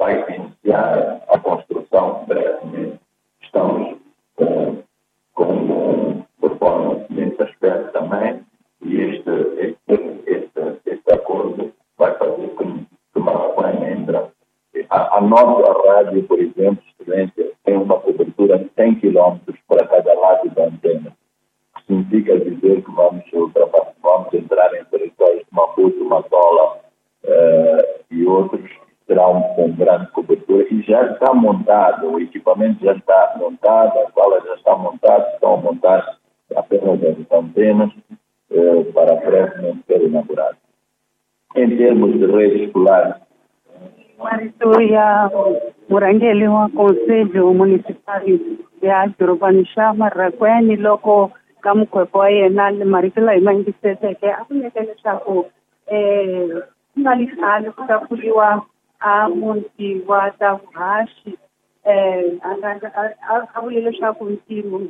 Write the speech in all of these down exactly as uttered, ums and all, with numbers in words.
vai iniciar a construção brevemente. Estamos com, com performance nesse aspecto também, e este, este, este, este acordo vai fazer com que Marracuene entra. A, a nossa rádio, por exemplo, excelência, tem uma cobertura de cem quilômetros para cada lado da antena. Que significa dizer que vamos, ultrapassar, vamos entrar em territórios de Maputo, Matola uh, e outros, terão com grande cobertura, e já está montado, o equipamento já está montado, a sala já está montada, estão a montar apenas as antenas uh, para brevemente ser inaugurado. Em termos de rede escolar, Marito ya murhangeri wa Conselho Municipal ya dorobani xa Marracuene loko ka mukhwepo wa yena marito lawa hi ma yingiseleke a ku nyika leswaku um ku nga li khale ku ta pfuriwa a muti wa ta vuhaxi um a vule leswaku ntirho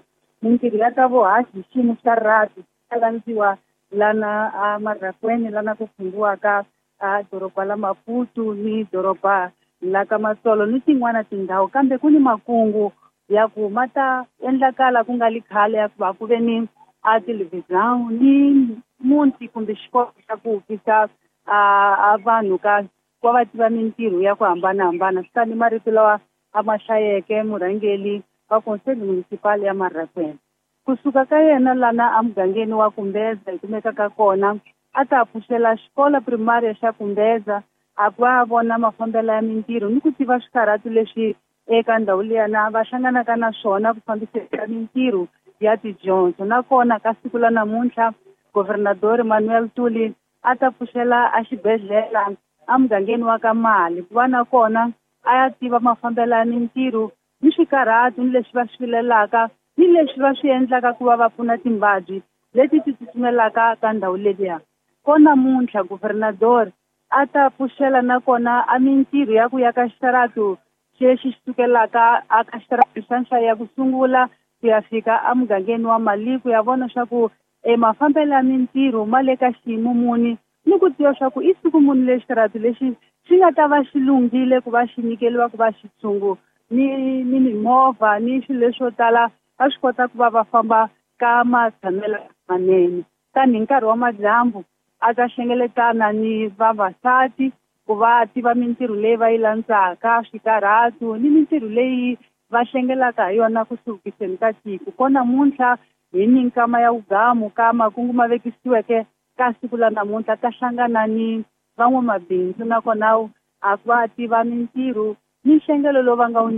mintirho ya ta vuhaxi hi xiyimo xa rhabi ta landziwa lana a Marracuene lana ku funghiwaka a doroba la Maputo ni doroba la ka Matsolo ni tin'wana tindhawu, kambe ku ni makungu ya ku ma ta endlakala ku nga li khale ya ku va ku ve ni a television ni muti kumbe xikolo xa ku vukisa a vanhu ka ku va tiva mintirho ya ku hambanahambana. Swi ta ni marito lawa a ma hlayeke murhangeri wa Conselho Municipal ya Marracuene. Kusuka ka yena lana emugangeni wa Kumbeza hi kumekaka kona, a ta pfuxela xikolo primária xa Kumbeza a ku va vona mafambelo ya mintirho ni ku tiva swikarhatu leswi eka ndhawu liyana va hlanganaka na swona ku fambiseka mintirho ya tidyondzo. Nakona ka siku la namuntlha Governador Manuel Tuli a ta pfuxela a xibedhlele emugangeni wa ka Mali ku va nakona a ya tiva mafambelo ya mintirho ni swikarhatu ni leswi va swi vilelaka ni leswi va swi endlaka ku va va pfuna timbabyi leti ti tsutsumelaka ka ndhawu leliya. Ko namuntlha Governador a ta pfuxela nakona a mintirho ya ku ya ka xitaratu xexi xi sukelaka a ka xitaratu xa nhlayo ya ku sungula ku ya fika emugangeni wa Mali ku ya vona swa ku e mafambelo ya mintirho ma le ka xiyimo muni ni ku tiva swa ku i siku muni lexi xitaratu lexi xi nga ta va xi lunghile ku va xi nyikeliwa ku va xitshungu ni ni mimovha ni swilo leswo tala va swi kota ku va va famba ka matshamelo manene. Tanihi nkarhi wa madyambu a ta hlengeletana ni vavasati ku va tiva mintirho leyi va yi landzaka, swikarhatu ni mintirho leyi va hlengelaka hi yona ku hluvukiseni ka tiko. Ko namuntlha hi ni nkama ya vugamu ka makungu ma vekisiweke ka siku la namuntlha ta hlangana ni van'wamabindzu nakona a va tiva mintirho ni nhlengelo lowu va nga wu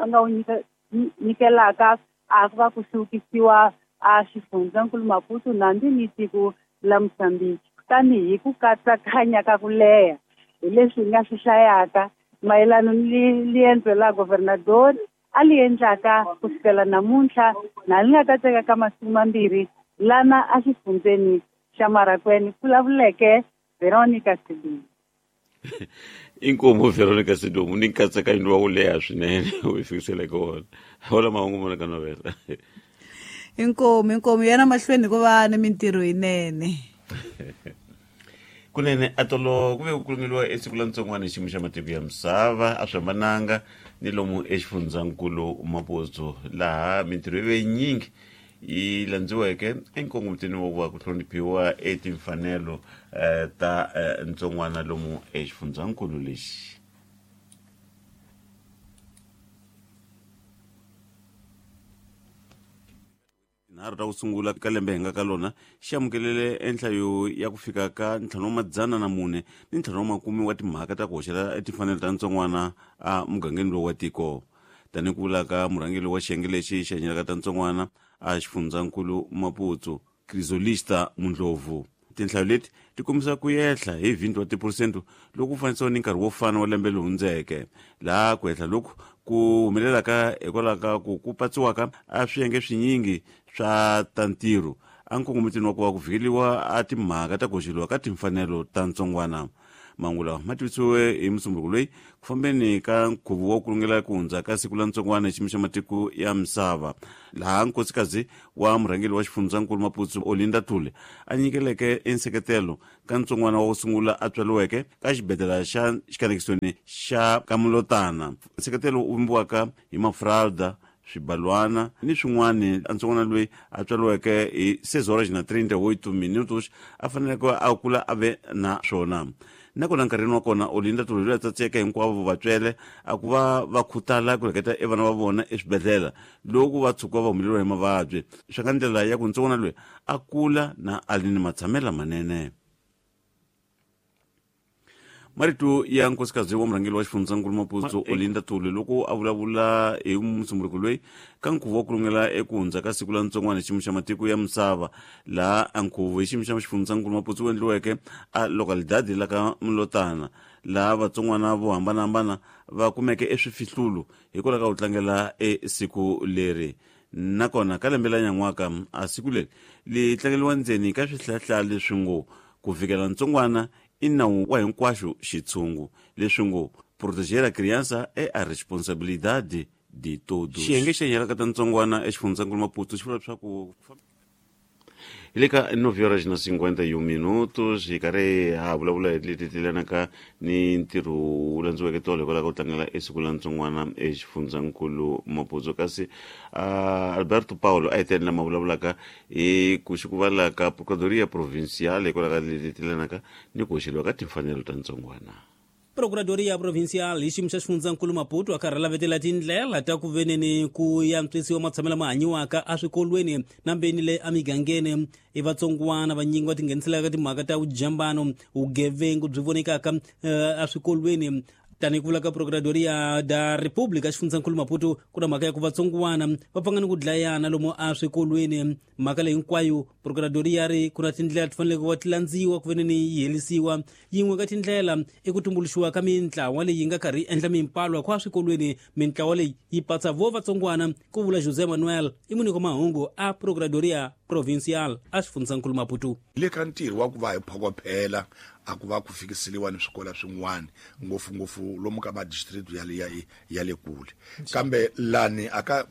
nga wu nyikelaka a ku va ku hluvukisiwa a xifundzankulu Maputo nambi ni tiko la Mozambique. Tanihi ku katsakanya ka ku leha hi leswi hi nga swi hlayaka mayelana ni liendzo la Governador a li endlaka ku sukela namuntlha na li nga ta teka ka masiku mambirhi lana a xifundzeni xa Marracuene, vulavuleke Veronica Sidumo. Inkomu Veronica Sidumo ni nkatsakanyo wa ku leha swinene u yi fikiseleke wona. Hola mahungu mona ka novela. Inkomu inkomu yena mahlweni ku va ni mintirho yinene. Kunene atolo ku ve ku kulungeliwa esiku la ntsongwana hi xiyimo xa matiko ya misava a swi hambananga ni lomu exifundzankulu Maputo laha mintirho yi ve yinyingi yi landziweke enkongomitweni wa ku va ku hloniphiwa etimfanelo ta ntsongwana lomu exifundzankulu lexi. Nharhu ta ku sungula ka lembe hi nga ka lona xi amukelele enhlayo ya ku fika ka ntlhanu wa madzana na mune ni ntlhanu wa makume wa timhaka ta ku hoxela etimfanelo ta ntsongwana a mugangeni lowu wa tiko. Tanihi ku vula ka murhangeri wa xiyenge lexi xi hanyelaka ta ntsongwana a xifundzankulu Maputo Crisolista Mundlovu, tinhlayo leti ti kombisa ku yehla hi twenty wa tiphurosente loko ku fanisiwa ni nkarhi wo fana wa lembe lowu hundzeke, laha ku yehla loku ku humelelaka hikwalaho ka ku ku patsiwaka a swiyenge swinyingi swa ta ntirho a nkongomitweni wa ku va ku vhikeliwa a timhaka ta ku hoxeliwa ka timfanelo ta ntsongwana. Mahungu lawa ma tivisiwe hi musumbunuko loyi ku fambeni ka nkhuvo wa ku lungela ku hundza ka siku la ntsongwana hi xiyimo xa matiko ya misava, laha nkosikazi wa murhangeri wa xifundzankulu Maputo Olinda Thule a nyikeleke enseketelo ka ntsongwana wa ku sungula a tswariweke ka xibedhlele xa xikanekisoni xa Kamulotana. Nseketelo wu vumbiwaka hi mafralda, swibalwana ni swin'wana. Ntsongwana loyi a tswariweke hi seis horas na trinta e oito minutos a faneleke a kula a ve na swona. Nakona nkarhini wa kona Olinda Thule loyi a tsatseka hinkwavo vatswele a ku va va khutala ku reketa e vana va vona eswibedhlele loko va tshuka va humeleriwa hi mavabyi, swa ka ndlela ya ku ntsongwana loyi a kula na a ri ni matshamelo manene. Marito ya nkosikazi wa murhangeri wa xifundzankulu Maputo Olinda Thule loko a vulavula hi musumbunuko loyi ka nkhuvo wa ku lungela eku hundza ka siku la ntsongwana hi xiyimo xa matiko ya misava, laha a nkhuvo hi xiyimo xa xifundzankulu Maputo wu endliweke a localidade la ka Mlotana, laha vatsongwana vo hambanahambana va kumeke eswifihlulo hikwalaho ka ku tlangela e siku leri. Nakona ka lembe la nyan'waka a siku leri li tlangeriwa ndzeni ka swihlahla leswi ngo ku fikela ntsongwana i nawu wa hinkwaxo xitshungu, leswi ngo proteger a criança é a responsabilidade de todos. Xiyenge xa nyalaka ta ntsongwana exifundzankulu Maputo xi vula leswaku hi le ka nove horas na cinquenta e um minutos hi karhi ha vulavula hi leti tilanaka ni ntirho wu landziweke tolo hikwalaho ka ku tlangela esiku la ntsongwana exifundzankulu Maputo. Kasi uh, Alberto Paulo a hi tele lama vulavulaka hi ku xikuvala ka Procuradoria Provincial hikwalaho ka leti tilanaka ni ku hoxeliwa ka timfanelo ta ntsongwana. Procuradoria Provincial hi xiyimo xa xifundzankulu Maputo a karhi a lavetela tindlela ta ku veneni ku yantswisiwa matshamelo lama hanyiwaka eswikolweni na mbeni le emigangeni. I vatsongwana vanyingi va tingheniselaka timhaka ta vujambano, vugevengu byi vonekaka eswikolweni. Tanihi ku vula ka Procuradoria da República xifundzankulu Maputo, ku na mhaka ya ku vatsongwana va pfanga ni ku dlayana lomu eswikolweni. Mhaka leyi hinkwayo Procuradoria ri ku na tindlela ti faneleke ku va ti landziwa ku veneni yi herisiwa. Yin'we ka tindlela i ku tumbuluxiwa ka mintlawa leyi nga karhi yi endla mimpalwa kwa swikolweni. Mintlawa leyi yi patsa vo vatsongwana, ku vula José Manuel i muniko mahungu a Procuradoria Provincial a xifundzankulu Maputo. Le ka ntirho wa ku va hi phokophela a ku va ku fikiseliwa ni swikolo swin'wana ngopfungopfu lomu ka madistrict ya le ya, ya le kule, kambe lani aka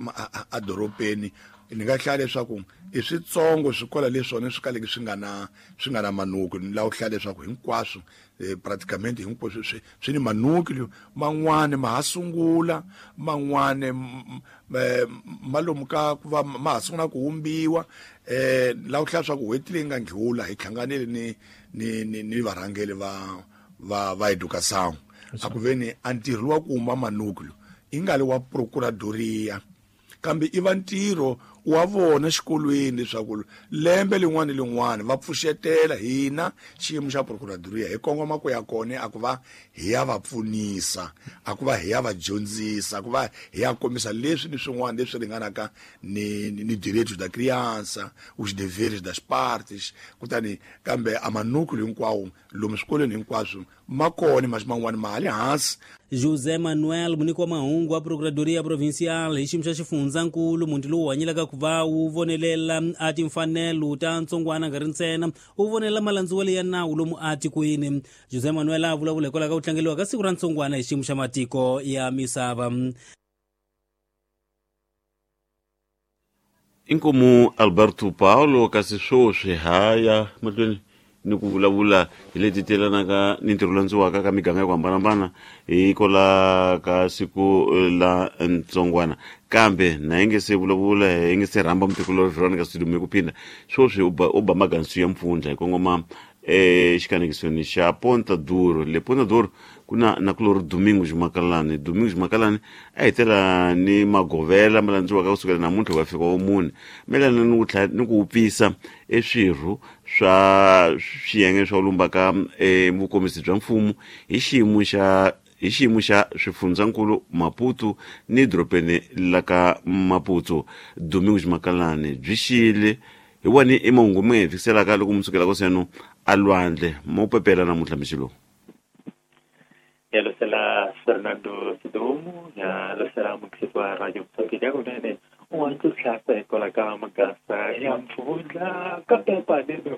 a dorobeni ni nga hlaya leswaku i switsongo swikolo leswona swi kaleke swi nga na swi nga na manuku. Ni lava ku hlaya leswaku hinkwaswo eh, praticamente hinkwaswo swi swi ni manuku man'wani ma ha sungula, man'wani malomu ka ku va ma ha sungula ku humbiwa. Eh lava ku hlaya leswaku n'hweti leyi nga ndlula hi hlanganile ni ni ni, ni varhangeri va va va educação a ku veni a ntirho wa ku huma manuku i nga li wa Procuradoria, kambe i va ntirho wa vona xikolweni leswaku lembe lin'wana ni lin'wana va pfuxetela hina xiyimo xa Procuradoria hi kongoma ku ya kona a ku va hi ya va pfunisa, a ku va hi ya va dyondzisa, a ku va hi ya kombisa leswi ni swin'wana leswi ringanaka ni ni, ni direitos da criança, os deveres das partes. Kutani kambe a manuku hinkwawo lomu swikolweni hinkwaswo ma kona, mas man'wana ma ha le hansi. José Manuel muniki wa mahungu wa Procuradoria Provincial hi xiyimo xa xifundzankulu, muti lowu hanyelaka ku va wu vonelela a timfanelo ta ntsongwana nga ri ntsena wu vonelela malandziwelo ya nawu lomu atikweni. José Manuel a vulavula hikwalaho ka ku tlangeriwa ka siku ra ntsongwana hi xiyimo xa matiko ya misava. Inkomu Alberto Paulo kasi swoswi haya mahlweni ni ku vulavula hi leti telanaka ni ntirho landziwaka ka miganga ya ku hambanahambana hikwalaho ka siku la ntsongwana. Kambe na hi nge se vulavula hi nge se rhamba mutikulori Veronica Sidumo ku phinda swoswi u ba u ba magansu ya mpfundla hi kongoma exikanekisweni xa Ponta Duro. Le Ponta Duro ku na na kulori Domingos Makalani. Domingos Makalani a hetela ni magovela ma landziwaka kusukela namuntlha ku ya fika wa mune mayelana ni ku tlhela ni ku wupfisa eswirho swa swiyenge swa lumbaka e vukomisi bya mfumo hi xiyimo xa hi xiyimo xa swifundzankulu Maputo ni dorobeni la ka Maputo. Domingos Makalani byi xiyile hi wani i mahungu mi nga hi fikiselaka loko mi sukela koseno a lwandle mo pepela namuntlha mixo lowu. Ya losela Fernando Sidumo, ya losela mukisi wa Radio Mozambique kunene u tlhasa hikwalaho ka magasa ya mpfundla ka pepa leno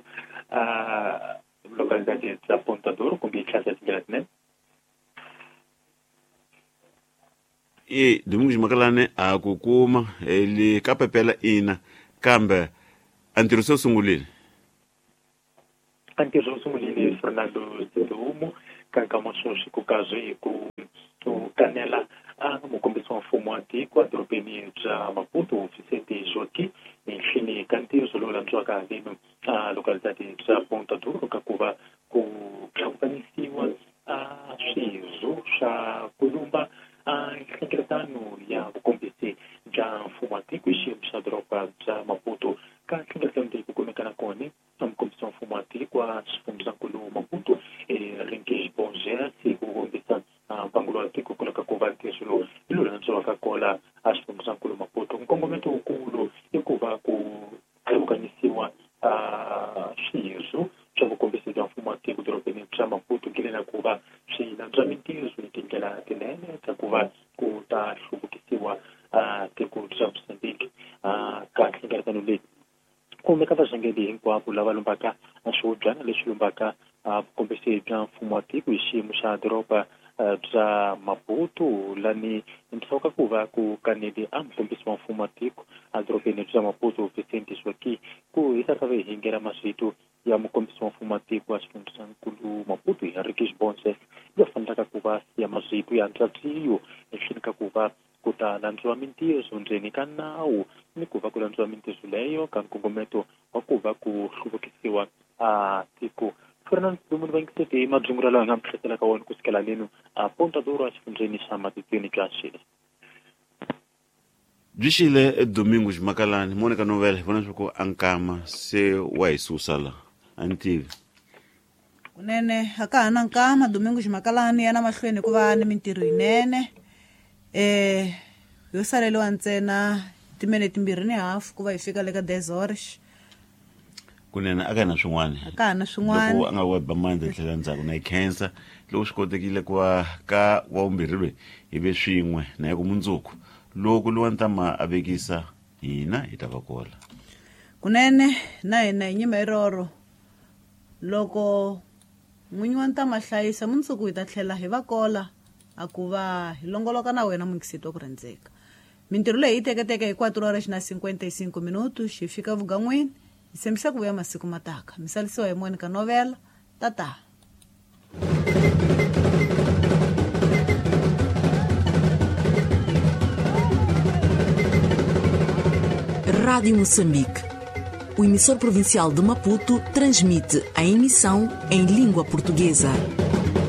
a Localidade bya Ponta Duro kumbe yi tlhasa tindlela tinene. E Domingos Makalane a ku kuma le ka pepela ina kambe a ntirho se wu sungulile. A ntirho wu sungulile Fernando Sedumo ka nkama sweswi ku kazi ku ku kanela a mukombisi wa mfumo wa tiko edorobeni bya Maputo Vicente Joaquim enhleni ka ntirho lowu landziwaka haleni a localidade bya Ponta Duro ka ku va ku tlhavukanisiwa a swirho swa ku lumba a nhlengeletano ya vukombisi bya mfumo wa tiko hi xiyimo xa doroba bya Maputo. Ka nhlengeletano leyi ku kumeka na kona a mukombisi wa mfumo wa tiko wa xifundzankulu Maputo Henrique Borges ku kombisa mbangulo wa tiko kwalomu ka ku va ntirho lowu hi lowu landziwaka kola a xifundzankulu Maputo. Nkongometo wukulu i ku va ku tlhavukanisiwa a swirho swa vukombisi bya mfumo wa tiko dorobeni bya Maputo ngile na ku va swi landzwa mintirho hi tindlela tinene ta ku va ku ta hluvukisiwa a tiko bya Mozambique. Ka nhlengeletano leyi kumeka varhangeri hinkwavo lava lumbaka swihubyana leswi lumbaka vukombisi bya mfumo wa tiko hi xiyimo xa doroba bya Maputo lani ndzhaku ka ku va ku kaneli a mukombisi wa mfumo wa tiko edorobeni bya Maputo Vicente Joaquim ku hisa ka vehingela maswito ya mukombisi wa mfumo wa tiko wa xifundzankulu Maputo Henrique Borges yo fanelaka ku va ya maswito ya ntsatiyo ehleni ka ku va ku ta landziwa mintirho ndzeni ka nawu ni ku va ku landziwa mintirho leyo ka nkongometo wa ku va ku hluvukisiwa a tiko. Fernando Domingos Vangisete madzungula lawa hi nga mi hletelaka ka wona kusukela leno a Ponta Duro exifundzheni xa Matitweni bya Xile. Byi xile Domingos Makalani Monica Novela hi vona leswaku a nkama se wa hi susa la a ni tivi. Kunene a ka ha na nkama Domingos Makalani ya na mahlweni hikuva ni mintirho yinene eh yo saleliwa ntsena timene timbirhi ni hafu ku va hi fika le ka dez horas. Kunene a ka na swin'wana a ka na swin'wana loko a nga weba mandla tlhela ndzhaku na yi khensa loko swi kotekile ku va ka wa vumbirhi loyi hi ve swin'we na ya ku mundzuku loko lowa ntama a vekisa hina hi ta va kola. Kunene na hina hi nyima iroro loko n'winyi wa ntama hlayisa mundzuku hi ta tlhela hi va kola a ku va hi longoloka na wena mukisito wa ku rhandzeka. Mintirho leyi yi teketeke hi quatro horas na cinquenta e cinco minutos hi fika vugan'wini. Hi tshembisa ku vuya masiku mataka. Misalisiwa hi Monica Novela. Tata. Rádio Moçambique. O emissor provincial de Maputo transmite a emissão em língua portuguesa.